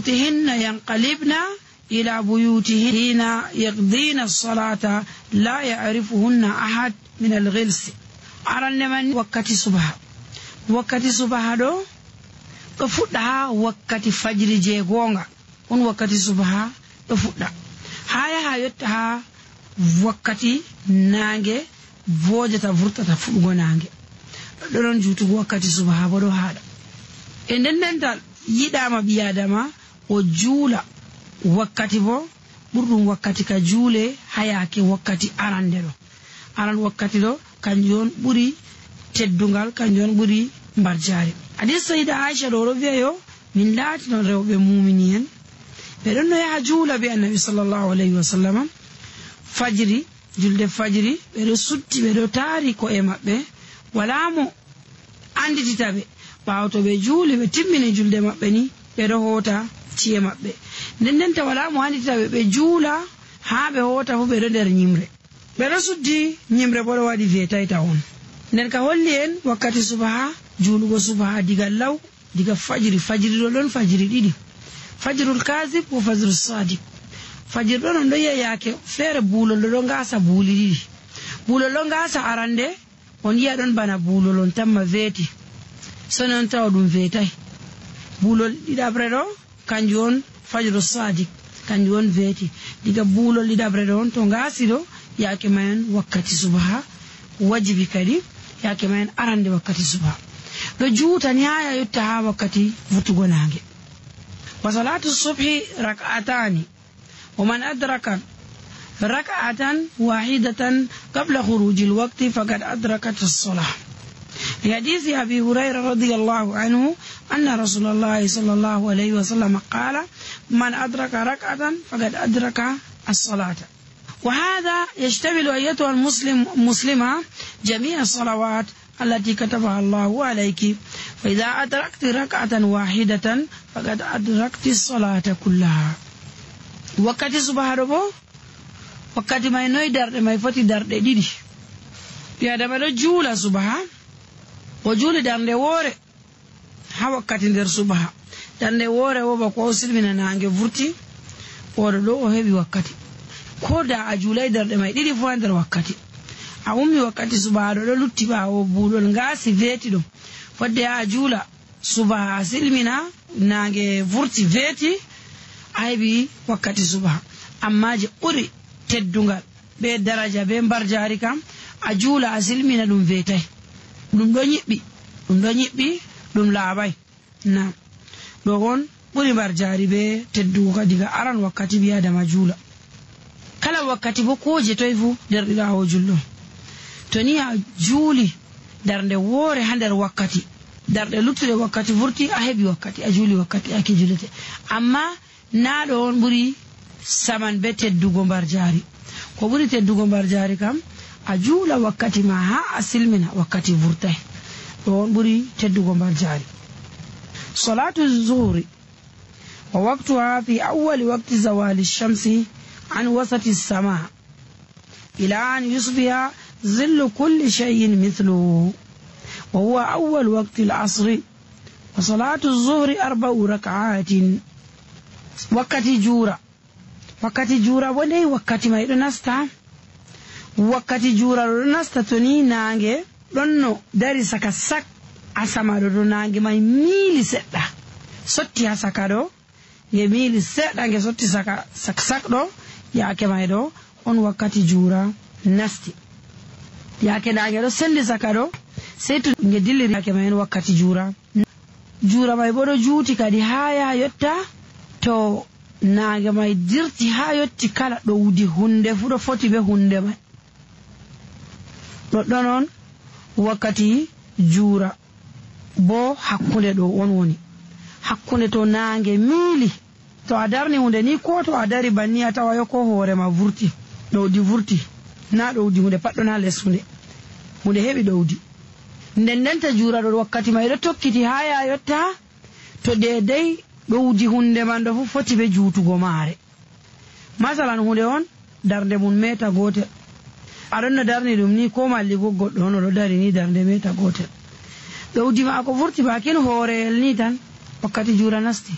بيوتهن ينقلبن إلى بيوتهن يقضين الصلاة لا يعرفهن أحد من الغلس أرن من وقت صبح دو فودا وقت فجر جيغونغا on wakkati subha ɗo fuɗɗa ha yotta wakkati nange vojata vurtata fuɗugo nange ɗon jutugo wakkati subha bo ɗo haɗa e ndendendal yiɗama ɓiyadama o juula wakkati bo ɓurɗum wakkati ka juule hayake wakkati aran wakkati ɗo kanjum on ɓuri teddungal kanjum on ɓuri mbarjari hadis sayida Aisha ɗo wi'ayo min laati non rewɓe mumini en ɓe ɗon no yaha juula be annabi sallallahu alayhi wa sallam fajiri julde fajiri ɓe ɗo sutti ɓe ɗo taari ko'e maɓɓe wala mo anditita ɓe ɓaawo to ɓe juuli ɓe timmini julde maɓɓe ni ɓe ɗo hoota ci'e maɓɓe ndendenta wala mo anditita ɓe juula haa ɓe hoota fu ɓe ɗo nder ñimre ɓe ɗo suddi ñimre bo ɗo waɗi weetayta on nden ka holli en wakkati subaha juulugo subaha diga law diga fajiri ɗo ɗon fajiri ɗiɗi fajirul kasib ko fajirul sadiq fajir ɗon on ɗo yeyake feere buulol ɗo ngasa buuli ɗiɗi buulol ɗo ngasa arande on yiya ɗon bana buulol on tamma veeti so non tawa ɗum veetay buulol ɗiɗabre ɗo kanjum on fajirul sadiq kanjum on veeti diga buulol ɗiɗabre ɗo on to ngasi ɗo yake mayen wakkati subaha wajibi kadi yake mayen arande wakkati subaha ɗo juutani ha yotta ha wakkati vurtugo nange wa salatu subhi rak'atani wa man adraka rak'atan wahidatan qabla khuruji alwaqti faqad adrakat as-salah li hadisi abi hurayra radiyallahu anhu anna rasulullah sallallahu alayhi wa sallam qala man adraka rak'atan faqad adraka as-salata وهذا يشتمل أيتها المسلمة جميع الصلوات التي كتبها الله عليك فإذا أدركت ركعة واحدة فقد أدركت الصلاة كلها وقت صباح ربو وقت ما ينوي درد ما يفتي درد ديدي يا دمدو جولا صباح وجول درد ووري ها وقت در صباح درد ووري وبقوا سلمنا نانجي فرتي ورلو هبي وقت koda a julai darde mai ɗiɗi fu nder wakkati a ummi wakkati subaha ɗo lutti ɓawo buulol ngasi veeti ɗum fodde a juula subaha silmina nange vurti veeti a heɓi wakkati subaha amma je ɓuri teddungal be daraja be mbarjari kam a juula a silmina ɗum veetay ɗum ɗo ñiɓɓi ɗum laaɓay na ɗo on ɓuri mbarjari be teddugo kadi ga aran wakkati ɓi adama juula kala wakkati bo ko je toy fu derɗirawo julɗo to ni a juuli darde woore ha nder wakkati darde luttude wakkati vurti a heɓi wakkati a juuli wakkati ake julete amma naɗo on ɓuri saman be teddugo mbar jaari ko ɓuri teddugo mbar jaari kam a juula wakkati ma ha a silmina wakkati vurtay ɗo on ɓuri teddugo mbar jaari salatu zuhri wa waqtuha fi awwali waqti zawali shamsi عن وسط السماء إلى أن يصبح ظل كل شيء مثله وهو أول وقت العصر وصلاة الظهر 4 ركعات وقت جورا ودي وقت ما يدنستا وقت جورا يدنستا تني نانجي لنو داري سكا سك أسما دو نانجي ما يميلي ستا سوتي سكا دو يميلي ستا نانجي سوتي سكا سك دو yake mai ɗo on wakkati juura nasti yake nange ɗo sendi saka ɗo sei to nge dilliri yake mai en wakkati juura mai bo ɗo juuti kadi ha ya yotta to nange mai dirti ha yotti kala ɗowdi hunde fu ɗo foti be hunde mai ɗoɗɗon on wakkati juura bo hakkunde ɗo on woni hakkunde to nange miili to a darni hunde ni ko to a dari banni a tawa yo ko hoore ma vurti ɗowdi vurti na ɗowdi hunde paɗɗo na les hunde heɓi ɗowdi ndendenta juuraɗo wakkati mai ɗo tokkiti ha ya yotta to dedei ɗowdi hunde man ɗo fu foti be juutugo maare masalan hunde on darde mum meta gotel aɗon no darni ɗum ni ko malligo goɗɗo on oɗo dari ni darde meta gotel ɗowdi ma ko vurti bakin hooreyel ni tan wakkati juura nasti